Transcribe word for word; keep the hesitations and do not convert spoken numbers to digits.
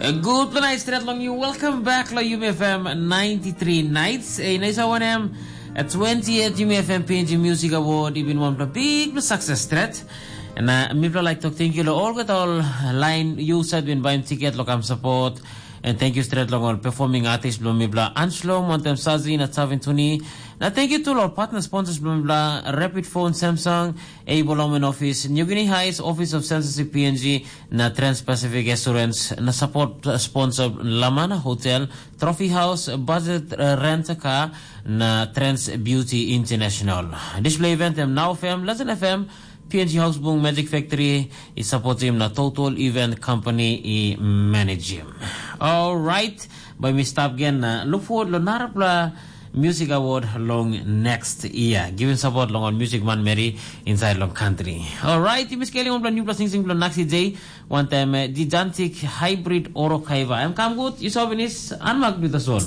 Gutpela nait stret long yu. Welcome back lo Yumi F M ninety-three Nights. E nais awanem, a twenty-eight Yumi F M P N G Music Award i bin wanpela big success stret. Na mipela like tok thank you lo olgeta ol line yu sat bin baim tiket lo kam support. And thank you stret long ol performing artist bilong mipela Anslom, wantem Sazi na Savin Tuni. Na thank you to ol partner sponsors bilong mipela Rapid Phone, Samsung, Able Home and Office, New Guinea Heights, Office of Censorship P N G, na Trans-Pacific Assurance, na support sponsor Lamana Hotel, Trophy House, Budget uh, Rent a Car, na Trans Beauty International. Display event em Now F M, Legend F M, P N G House Bung Magic Factory, i support him na Total Event Company i manage him. Alright, by me stop again na look forward lo narapla Music Award long next year. Giving support long all music man Mary inside long country. Alright, you miss Kelly on new plus sing sing plus Naxi J. One time, uh, gigantic hybrid oro kaiva. I'm come good. You saw Venice. Unmark with the soul.